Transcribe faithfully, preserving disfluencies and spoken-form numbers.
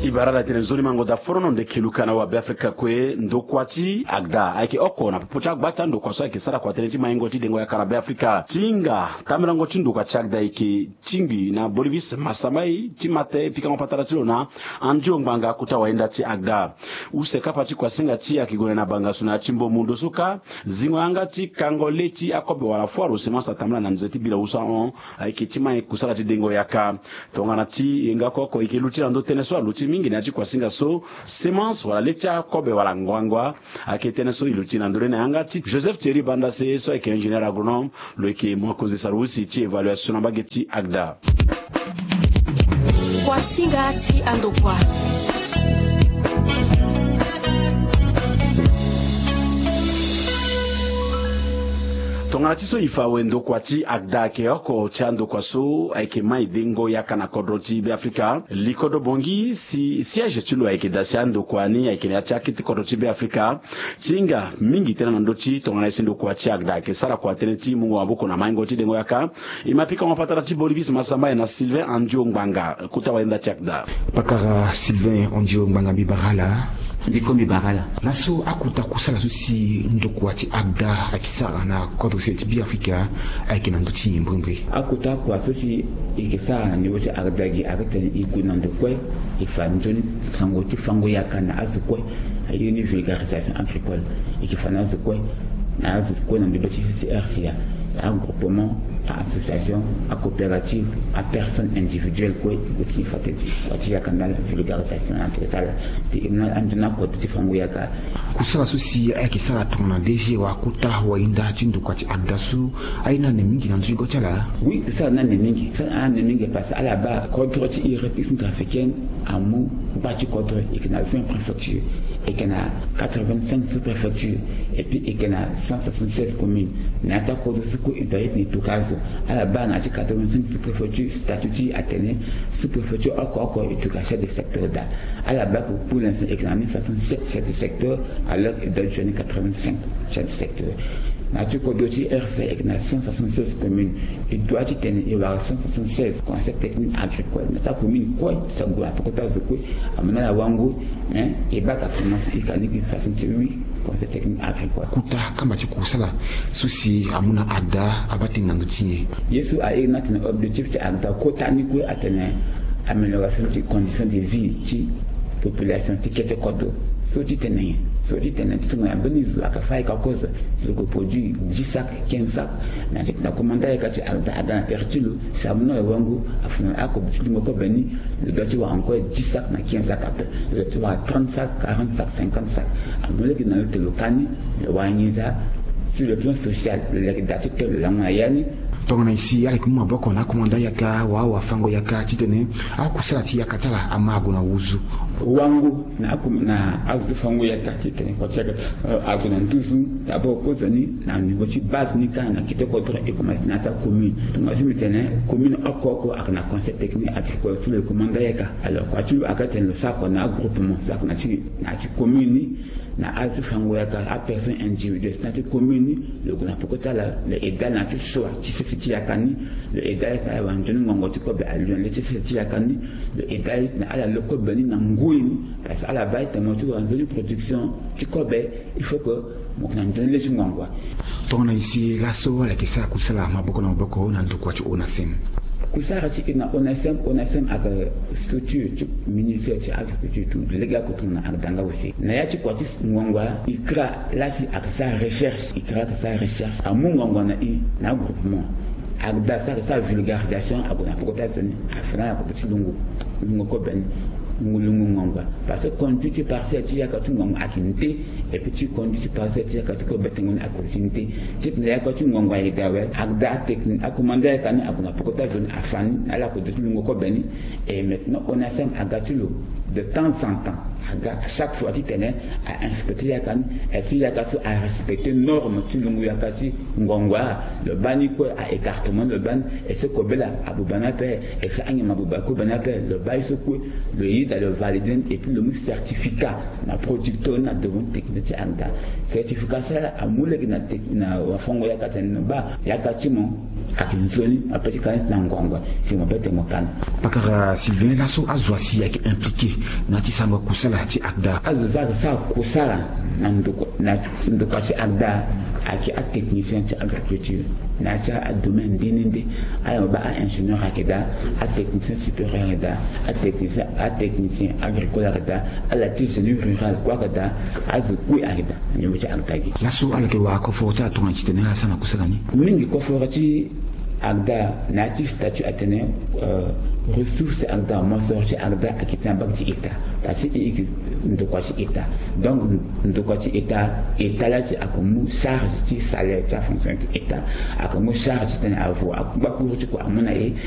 E bara ala tene nzoni mango da forono ndeke luka na wa Beafrika kue. Ndokua ti agda ayeke oko na popo ti agba ti andokua so ayeke sara kua tënë ti maingo ti dengo yaka na Beafrika. Ti hinga tambelango ti ndokua ti agda ayeke tingbi na Bolivis Masamai ti mate pikango patara ti lo na Andio Ngbanga, kota wahinda ti agda. Use kapa ti kuasinga ti e ayeke gue na bangasu na ya ti mbo mundu so kâ. Zingo yanga ti kango le ti akobe wala foire au semence atambula na nze ti bila usa ahon. Ayeke ti mai kusala ti dengo yaka. Tongana ti e nga oko oko e yeke luti na ndö tënë so aluti mingi na ya ti kuasinga so, semence wala le ti akobe wala ngbangba. Ayeke tënë so e luti na ndö ni na yanga ti Joseph Thierry Bandase so ayeke ingénieur agronome. Lo yeke mokonzi sarusi ti évaluation na mbage ti agda. Kuasinga ti andokua. Tongana ti so e fa awe, ndokua ti agda ayeke oko ti andokua so ayeke mai dengo yaka na kodro ti Beafrika. Li kodro bongi si siège ti lo ayeke daa si andokua ni ayeke na ya ti akete kodro ti Beafrika. Ti hinga mingi tënë na ndö ti tongana e si ndokua ti agda ayeke sara kua tënë ti mungo maboko na maingo ti dengo yaka. E ma pikango patara ti Bolivis Masamai na Sylvain Andio Ngbanga, kota wahinda ti agda. Pakara Sylvain Andio Ngbanga, mbi bara ala. Mbi ko mbi bara ala. Laso akota kusala so si ndokua ti agda ayeke sara na kodro sese ti Beafrika ayeke na ndö ti nyen mbrimbri? Akota kua so si e yeke sara na nivo ti agda gi ayeke tene e gue na ndo kue, e fa nzoni sango ti fango yaka na azo kue. Aye ni vulgarisation agricole. E yeke fa na azo kue, na azo kue na ndö ti C C R C A, agroupement, association, acoopérative, apersonne individuelle kue, e gue ti fa tene ti kua ti yaka na ala, vulgarisation na tene ti ala. Ti e mu na anzoni akoto ti fango yaka. Kusala so si ayeke sara tongana D G wala kota wahinda ti ndokua ti agda so, aye ni ane mingi na ndö ti go ti ala? Oui, kusala ni ane mingi. Kusala ni ane mingi parce que ala baa kodro ti e République centrafricaine amu gba ti kodro, e yeke na vingt préfectures, e yeke na quatre-vingt-cinq sous-préfectures, et puis e yeke na cent soixante-seize communes. Na ya ti akodro so kue e doit ti tene e toka azo. Ala baa na ya ti quatre-vingt-cinq sous-préfectures, statut ti e atene sous-préfecture oko oko e toka chef de secteur daa. Ala baa que pour l'instant e yeke na ni soixante-sept chefs de secteur, alors e doit joindre quatre-vingt-cinq chefs de secteur. Na ya ti kodro ti R C A e yeke na cent soixante-seize communes. E doit ti tene e wara cent soixante-seize conseils techniques agricoles. Na ti acommune kue, ti ague na peko ti azo kue, amu na ala wango, mais e baa ka semence, e ka ni gi façon ti huit conseils techniques agricoles. Kota kamba ti kusala so si amu na agda abaa tënë na ndö ti nyen? Ye so aye ni atene objectif ti agda kota ni kue atene amélioration ti condition de vie ti population ti kete kodro. So ti tene nyen? So ti tene ti tongana mbeni zo ayeke fâ ayeke kozo, si lo yeke produire dix sacs, quinze sacs, mais ti tene akomanda ayeke ti agda, agda na tere ti lo, si amu na lo wango, afa na lo akobe ti lungo kobe ni, lo doit ti wara encore dix sacs na quinze sacs ape. Lo doit ti wara trente sacs, quarante sacs, cinquante sacs. Amu lege na lo tene lo ka ni, lo wara nginza. Sur le plan social, lo leke daa ti to lo lango na ya ni. Tongana e si ala yeke mu maboko na akomanda yaka wala awafango yaka titene akusala ti yaka ti ala ama ague na wuzu. Wango na aku na azo ti fango yaka titene kua ti yaka, eh, ague na nduzu. D'abord kozoni na niveau ti base ni kâ na kete kodro e komanse na ya ti acommune. Tongana so mbi tene commune oko oko ayeke na conseil technique agricole so lo yeke komanda yaka. Alors kua ti lo ayeke tene lo sara kua na agroupement so ayeke na ti na ya ti commune ni. Na azo ti fango yaka, apersonne individuelle ti na ya ti commune ni, lo gue na peko ti ala, lo aide ala na ya ti choix ti sese ti yaka ni, lo aide ala ti na ala wara nzoni ngongo ti kobe alio na le ti sese ti yaka ni, lo aide ala ti na ala lo kobe ni na ngoi ni. Parce que ala baa ti tene mo ti wara nzoni production ti kobe, il faut que mo yeke na nzoni le ti ngongo. Tongana e si laso ala yeke sara kusala maboko na maboko na ndokua ti ONASEM. Kusara ti e na ONASEM, ONASEM ayeke structure ti ministère ti agriculture ti lege oko tongana agda nga aussi. Na ya ti kua ti ngongo, e kra la si ayeke sara recherche, e kra ayeke sara recherche, amu ngongo na e na agroupement. Agda so ayeke sara vulgarisation, ague na peko ti azo ni, afa na ala kobe ti lungo, lungo kobe ni, lungo, lungo ngongo. Parce que conduit ti parcelle ti yaka ti ngongo ayeke nde, et puis ti conduit ti parcelle ti yaka ti kobe tengo ni ayeke aussi nde. Ti tene yaka ti ngongo ayeke daa awe, agda atechnique, akomanda yaka ni ague na peko ti azo ni, afa ni na ala kobe ti lungo kobe ni. Et maintenant ONASEM aga ti lo de temps en temps, aga chaque fois titene a inspecter yaka ni, est-ce que yaka so a respecter norme ti lungo yaka ti ngongo? Lo baa ni kue a écartement ni, lo baa ni, est-ce que kobe laa abuba ni ape, est-ce que anyama abuba kobe ni ape? Lo baa ye so kue, lo yeda, lo valider ni, et puis lo mu certificat na producteur ni na devant technicien ti agda. Certificat so laa amu lege na tec-, na wafango yaka titene lo baa yaka ti mo Ayeke nzoni mo pe ti ka ni ti na ngongua si mo pe tene mo ka ni. Pakara Sylvain, laso azo asi ayeke impliqué na ya ti sarango kusala ti ACDA? Azo so ayeke sara kusala na ndokua na ndokua ti ACDA ayeke atechnicien ti agriculture na ya ti adomaine nde nde nde. Ala mo baa a-ingénieur ayeke daa, atechnicien supérieur ayeke daa, atechnicien atechnicien agricole ayeke daa, ala ti génie rural kue ayeke daa. Azo kue ayeke daa na niveau ti ACDA gi. Laso ala yeke wara koforo ti ala tongana ti tene ala sara na kusala ni? Mingi koforo ti ACDA na ya ti statut atene, euh, ressource ti ACDA, mosoro ti ACDA ayeke ti na banque ti état. Parce que e yeke ndokua ti état. Donc ndokua ti état, état la si ayeke mu charge ti salaire ti afonctionnaire ti état, ayeke mu charge ti tene avo akpakuru ti kua amu na e.